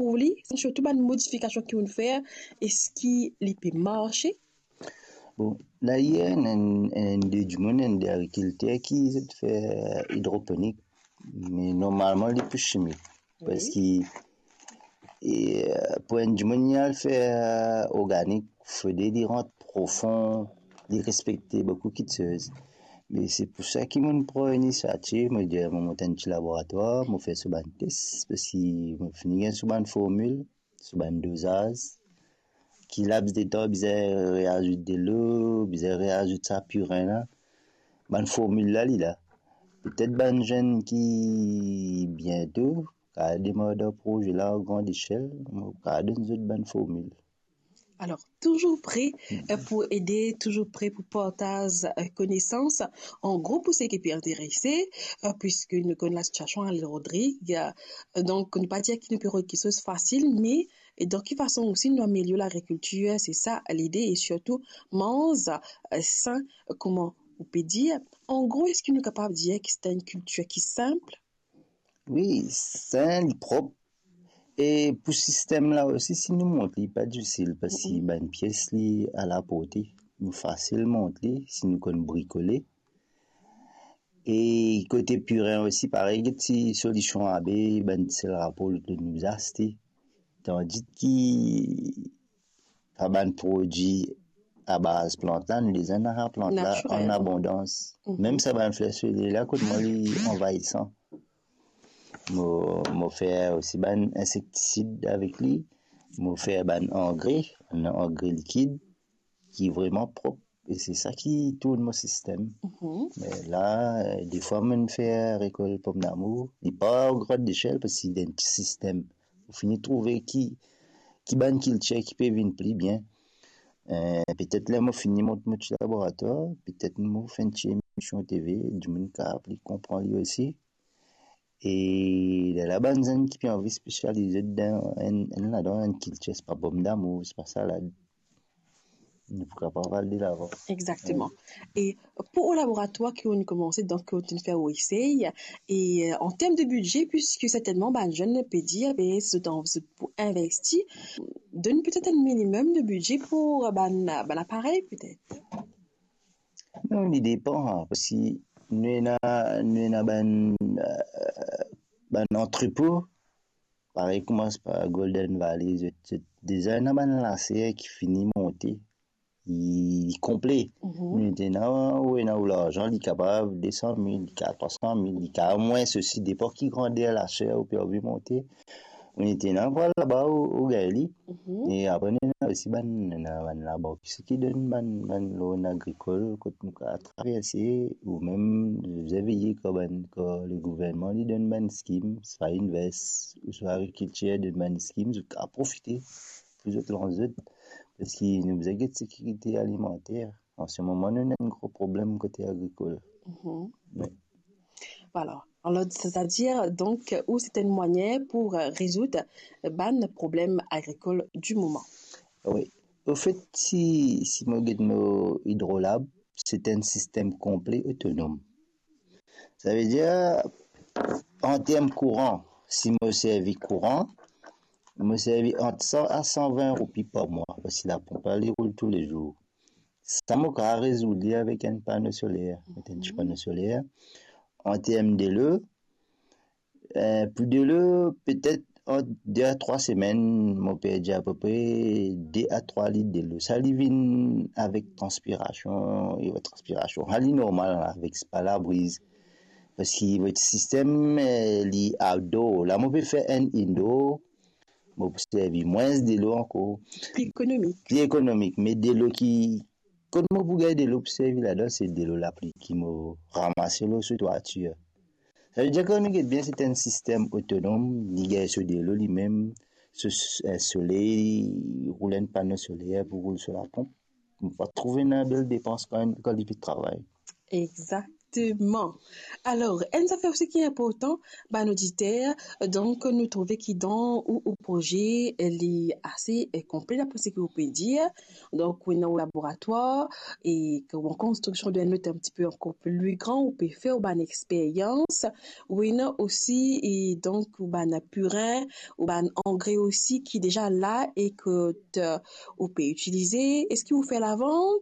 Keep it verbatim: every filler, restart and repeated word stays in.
pou li, sirtou bann modifikasion ki ou'nn fer, eski li pe marse? Bon, la, ena enn, enn, enn de dimoun, enn de agrikilter ki zot fer idroponik, me normalman li pou simik. Wi. Parski, e, pou enn dimoun li al fer organik, fode li rant profon, li respekte boukou kiksoz. Me se pou sa ki mo'nn pran inisiativ, mo dir, mo mont enn ti laboratwar, mo fer so bann tes, parski mo fini gagn so bann formil, so bann dozaz, ki laps de tan bizin reazout delo, bizin reazout sa pirin la. Bann formil la, li la. Petet bann zenn ki biento kav demar dan proze la an gran lesiel, mo kav donn zot bann formil. Alor, touzour pre, e, pou ede, touzour pre pou partaz, e, konesans. An gro, pou seki pe interese, e, piski nou konn lasitiasion a Lil Rodrig, e, donk nou pa dir ki nou pe rod kiksoz fasil, me, e, dan ki fason osi nou amelior lagrikiltir, se sa lide, e sirtou manz, e, sin, kouma ou pe dir. An gro, eski nou kapav dir ki se enn kiltir ki sinp? Wi, sin, li prop. E pou sistem la osi, si nou mont li, pa difisil, parski bann pies li alaporte. Nou fasil mont li, si nou konn brikole. E kote pirin osi, parey, get ti solision abe, bann sel rapor lot nou aste. Tandis ki sa bann prodwi abaz plant la, nou deza ena plant la an abondans. Mem sa bann fler soley la, kot mwa li anvayisan. Mo, mo fer osi bann insektisid avek li. Mo fer bann angre, bann angre likid ki vreman prop. E se sa ki tourn mo sistem. Me la, e, defwa mo'nn fer rekol pomdamour, li pa an gran lesiel parski li dan enn ti sistem. Mo fini trouve ki, ki bann kiltir ki pe vinn pli bien. E, petet ler mo fini mont mo ti laboratwar, petet mo fer enn ti emision T V, dimoun kav pli konpran li osi. E lerla bann zenn ki pe anvi spesialize dan enn, enn ladan, enn kiltir, se pa pomdamour, se pa salad, nou pou kapav al delavan. Exactement. Wi. E pou ou laboratwar ki ou'nn koumanse, donk ki ou'nn fer ou esey, e, e, an term de bidze, piski sertennman bann zenn pe dir, be, si zot anvi, zot pou investi, donn petet enn minimem de bidze pou bann, bann aparey, petet. Non, li depan, parski nou ena, nou ena bann, e, bann antrepo, parey kouma par Golden Valley, zot, zot deza ena bann laser ki fini monte, li, li konple. Nou ena, ou ena ou larzan, li kapav de san mil, li kapav trwa san mil, li kapav mwins osi, depan ki grander laser ou pe anvi monte. Ou ena pou al laba, ou, ou gagn li. E apre, nou ena osi bann, nou ena bann labank ki donn bann, bann loan agrikol, kot nou kav traverse, ou mem, nou bizin veye kan bann, kan legouvernman li donn bann skim, swa Invest, ouswa Agrikiltir donn bann skim, zot kav profite pou zot lans zot, parski nou bizin get sekirite alimanter. An se moman, nou ena enn gro problem kote agrikol. Wi. Vwala. Alor, setadir, donk, ou se enn mwayin pou, e, rezoud, e, bann problem agrikol di moman. Wi. Anfet, si, si mo get mo idrolab, se enn sistem konple otonom. Savedir, an term kouran, si mo servi kouran, mo servi ant san a san vin roupi par mwa, parski laponp la, li roul toulezour. Sa mo kav rezoud li avek enn pano soler, met enn ti pano soler. An term delo, e, pou delo, petet ant de a trwa semenn, mo perdi apepre de a trwa lit delo. Sa li vinn avek transpirasion, evazyon transpirasion. Sa li normal avek, se pa labriz. Parski mo sistem, e, li outdoor. La, mo pe fer enn indoor, mo pou servi mwins delo ankor. Pli ekonomik. Pli ekonomik, me delo ki, kot mo pou gagn delo pou servi ladan, se delo lapli ki mo ramase lor so twatir. Savedir, kan nou get bien, se enn sistem otonom, li gagn so delo limem, so, e, soley, li roul enn pano soler pou roul so laponp. Mo pa trouve ena bel depans kan, kan li pe travay. Exact. Exactement. Alors, enn zafer osi ki inportan, bann oditer, donk, nou trouve ki dan ou, ou proze, li ase, eh, konple, dapre seki ou pe dir. Donk, ou ena ou laboratwar, e kouma konstriksion de enn lot un petit peu ankor pli gran, ou pe fer ou bann experyans, ou ena osi, e donk, ou bann purin, ou bann angre osi ki deza la e ke, eh, ou pe itilize. Eski ou fer lavant?